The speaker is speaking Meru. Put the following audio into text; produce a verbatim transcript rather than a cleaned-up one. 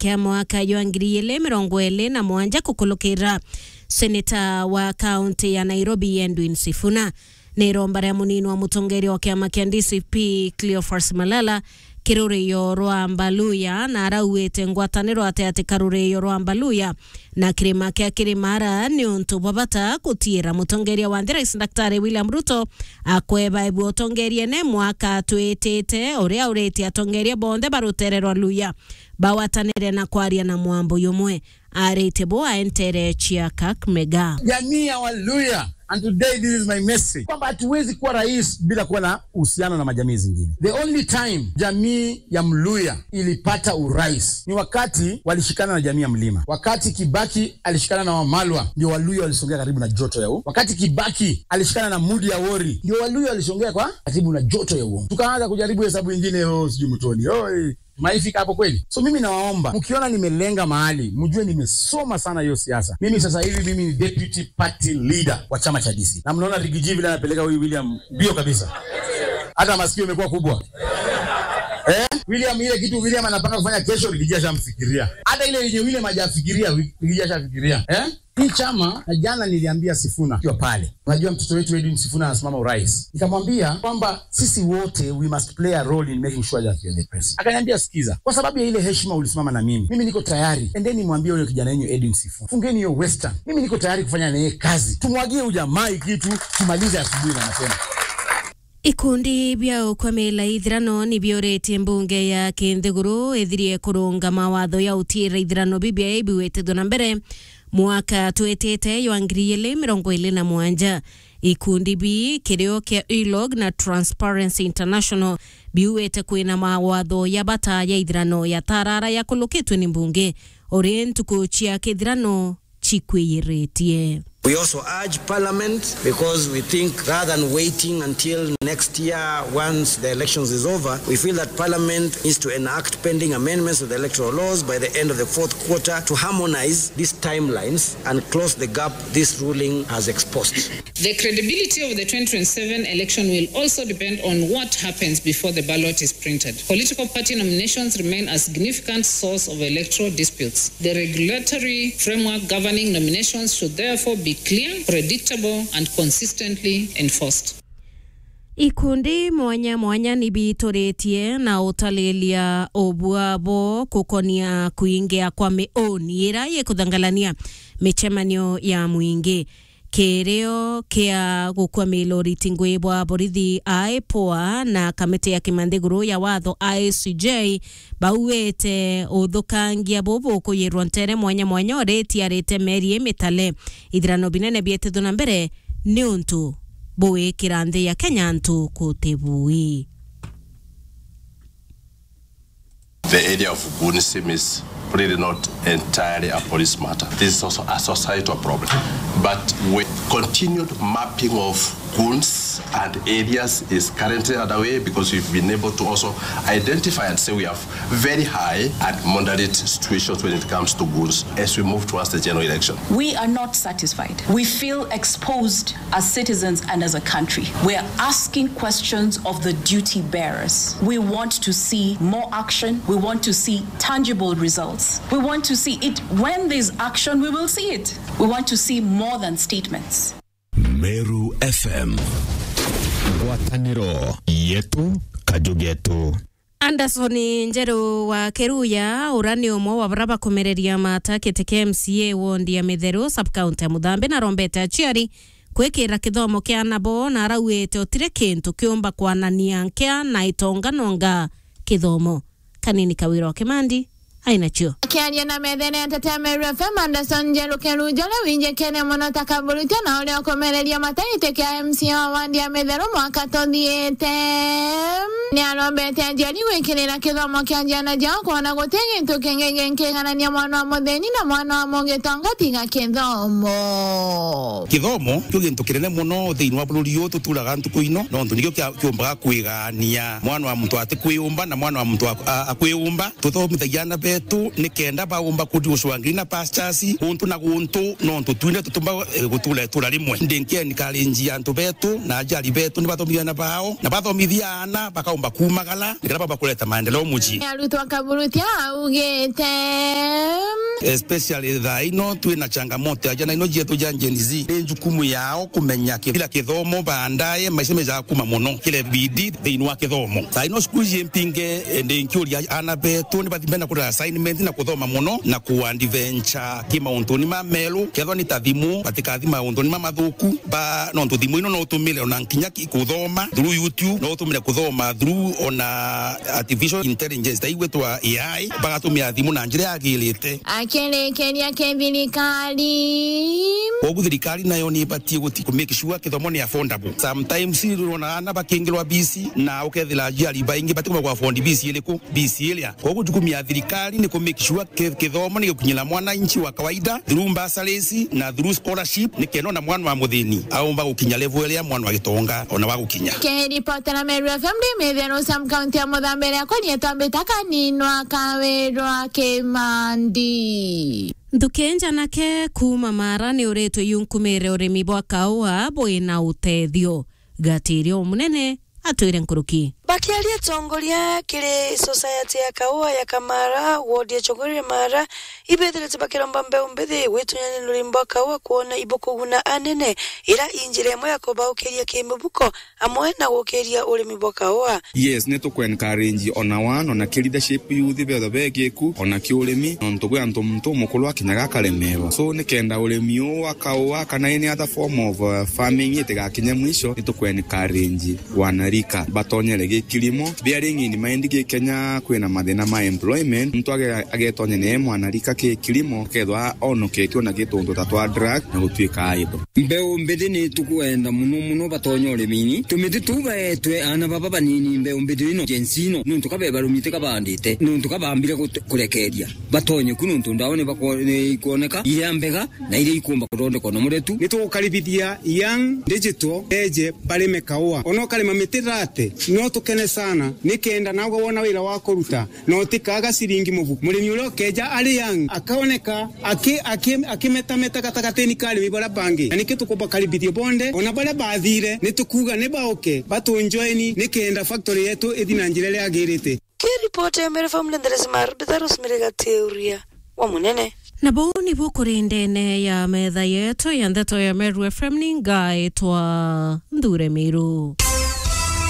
ya mwaka jwa ngiri igiri mirongo iri na mugwanja kukulukira seneta wa kaunti ya Nairobi Edwin Sifuna. Ni iromba ria munini wa mutongeria wa kiama kia D C P Cleophas Malala kiri rurio rwa Mbaluya, na arauite ngwataniro ati ati ka rurio rwa Mbaluya na kirima kia Kirimara ni untu bwa bata gutiira mutongeria wa nthi Rais Daktari William Ruto akweba ebua utongeriene mwaka twitite, uria uritie atongeria bonthe ba rutere rwa Luya bawatanire na kwaria na mwambo jumwe. Arite bo aentere chia Kakamega. Jamii ya Waluya, and today this is my message, kwamba hatuwezi kuwa rais bila kuwa na uhusiano na majamii zingine. The only time jamii ya Mluya ilipata urais ni wakati walishikana na jamii ya Mlima. Wakati Kibaki alishikana na Wamalwa, ndio Waluya walisongea karibu na joto ya u-, wakati Kibaki alishikana na Mudi ya Wori, ndio Waluya walisongea kwa karibu na joto ya uongo. Tukaanza kujaribu hesabu ingine, oh, sijui Mutoni, oh, eh. Tumeifika hapo kweli? So mimi nawaomba, mkiona nimelenga mahali, mjue nimesoma sana hiyo siasa. Mimi sasa hivi mimi ni deputy party leader wa chama cha D C. Na mnaona Rigiji vile anapeleka huyu William mbio kabisa. Hata masikio imekuwa kubwa. Eh? William, ile kitu William anapanga kufanya kesho, Rigiji ashamfikiria. Hata ile yenye William hajafikiria, Rigiji ashafikiria. Eh? Hii chama, na jana niliambia Sifuna akiwa pale, unajua mtoto wetu Edwin Sifuna anasimama urais. Nikamwambia kwamba sisi wote we must play a role in making sure that you're the president. Akaniambia, "Sikiza, kwa sababu ya ile heshima ulisimama na mimi, mimi niko tayari. Endeni mwambie huyo kijana yenu Edwin Sifuna, fungeni hiyo Western. Mimi niko tayari kufanya na yeye kazi. Tumwagie huyu jamaa hii kitu, tumalize asubuhi na mapema." Ikundi bia ukwamila ithirano ni biuritie mbunge ya kinthiguru ithirie kurunga mawatho ya utiira ithirano bibia ibiwitithwe na mbere mwaka twitite jwa ngiri igiri mirongo iri na mugwanja. Ikundi bii, kirio kia ULOG na Transparency International, biuite kwina mawatho ya bata ya ithirano ya tarara yakulukitwe ni mbunge, uri ntuku cia kithirano chikwiyiritie. We also urge Parliament, because we think rather than waiting until next year once the elections is over, we feel that Parliament needs to enact pending amendments to the electoral laws by the end of the fourth quarter to harmonize these timelines and close the gap this ruling has exposed. The credibility of the twenty twenty-seven election will also depend on what happens before the ballot is printed. Political party nominations remain a significant source of electoral disputes. The regulatory framework governing nominations should therefore be clear, predictable, and consistently enforced. Ikundi mwanya mwanya ni biituritie na utalilia ubua bo gukonia kuingia kwa miuni ira ikuthangalania micemanio ya mwingi. Kirio kia gukwamila uriti ngui bwa borithi, IPOA, na kamiti ya kimanthiguru ya watho, I C J, bauite uthukangia bubu kuyirwa ntere mwanya mwanya uritiarite meri imitale. Ithirano binene bietithwe na mbere ni untu buwikira nthi ya Kenya antu kutibui. The area of goonism is really not entirely a police matter. This is also a societal problem. But with continued mapping of goons and areas is currently underway, because we've been able to also identify and say we have very high and moderate situations when it comes to goons as we move towards the general election. We are not satisfied. We feel exposed as citizens and as a country. We are asking questions of the duty bearers. We want to see more action. We want to see tangible results. We want to see it. When there's action, we will see it. We want to see more than statements. Meru F M. Ngwataniro yetu, kaju getu. Anderson Njeru wa Kiruya, ura ni umwe wa bara bakumereria mata kiti kia M C A wondi ya Mitheru, sub-county ya Muthambi, na arombete aciari kwikira kithomo kia anabo, na arauite utiri kintu kiumba kwanania nkia na itonga nonga kithomo. Kanini Kawira wa Kimandi ainacio. Akiaria na methene ya Nteto ya Meru F M, Anderson Njeru Kiruya, uria winjikene mono ta kaburutia na uria ukumereria mata giti kia M C A wa wandi ya Mitheru mwaka tuthiite, ni arombete aciari gwikirira kithomo kia ciana ciao, kwona guti gintu kingi ginkiganania mwana wa muthini na mwana wa mugitonga tiga kithomo. Kithomo kio gintu kinene mono thiini wa bururi uyu tuturaga ntuku ino, nontu nikio kia-, kiumbaga kwigania mwana wa muntu atikwiyumba na mwana wa muntu ak-, a-, akwiyumba. Tuthomithagia aana betu betu, nikenda baumba kuthi gucwangiri na pastures, guntu na guntu, nontu twine tutumba, eh, gutura itura rimwe. Ndi nki encourage antu betu na ajari betu ni bathomithie ana bao, na bathomithia ana bakaumba kumagara, nikenda baumba kureta maendeleo mucii. Arutwo akaburutia augite. Especially thaa ino twina changamoto ya jana ino jietu ja Gen Z. Ni jukumu yao kumenya ki-, kila kithomo baadaye maisha meja kuma muno. Kile bidii thiini wa kithomo. Thaa ino cukuru iji mpinge, eh, ndi nkiuria ana betu ni bathime na kurira assignment na kuthoma muno na ku adventure ki mauntuni ma meru. Kethwa ni ta thimu, batikathi mauntuni ma mathuku, ba, nontu thimu ino no utumire ona nkinya ki-, kuthoma through YouTube, no utumire kuthoma through ona artificial intelligence, ta igwitwa A I, bagatumira thimu na njira yagirite. Akirikeria ki thirikari. Koguo thirikari nayo ni ibatie guti ku make sure kithomo ni affordable. Sometimes urona ana bakingirwa fees na ukethira aciari baingi batikuma ku afford fees iriku, fees iria. Koguo jukumu ya thirikari ni ku make sure ki-, kithomo ni gikukinyira mwananchi wa kawaida through bursaries na through scholarship, nikenda ona mwana wa muthini aumba gukinya level iria mwana wa gitonga ona wa gukinya. Kiripotera Meru F M ndi Mitheru Sam, kaunti ya Muthambe, riakwa nietwa Mbita Kaninwa Kawirwa Kimandi. Nthuki njanake kuuma Mara ni uritwe yunkumire urimi bwa kaua bwina utethio. Gatirio munene atwire nkuruki. Bakiaria atongoria kiri Society ya Kaua ya Kamara, wodi ya Chogorere Mara, ibethirite bakiromba mbeu mbithi gwitunyania na urimi bwa kaua kwona ibukuguna anene, ira i njira imwe ya kubaukiria kimibuko amwe na gukiria urimi bwa kaua. Yes, ni tuku encourage ona one, ona ki leadership youth bethwa begiku, ona ki urimi, nontu gwi antu muntu umukuru akinyaga akaremerwa. So, nikenda urimi uu wa kaua kana any other form of, uh, farming itigakinye mwisho, ni tuku encourage wanarika batonyere gi kilimo. Bearing in mind gi Kenya kwina mathina ma employment, muntu age-, agetonya ni mwanarika ki kilimo, akethwa onoketue na gituntu ta twa drug na gutuika idle. Mbeu mbithi ni tukwenda muno muno batonye urimini. Tumiti tuu baetwe aana baba banini mbeu mbithi ino, Gen Z ino, nuntu ka bebarumite kabandite, nuntu kabambire gut-, kurekeria. Batonye ku nuntu ndawa ni bakwo-, ni ikwoneka iria mbega na iria ikumba kuthondekwa na muretu. Ni tugukaribithia young digital eje barime kaua. Ona ukarima miti thirty, no tukene sana, nikenda nawe wona wira wa kuruta, na utikaga ciringi mubuku. Murimi uria ukeja ari young, akaoneka aki-, aki-, akimetameta gatagatini ka arimi baria bangi. Na niki tukubakaribithia bonthe, ona baria bathire, ni tukuuga ni bauke, batunjoeni, nikenda factory yetu ithi na njira iria yagirite. Ki ripoti ya Meru F M, Lenderesi Maru, Bita Rosemary Gatiuria wa Munene. Na buu nibu kuri ndene ya metha yetu ya ndeto ya Meru F M, ni ngaitwa Nthure Miru.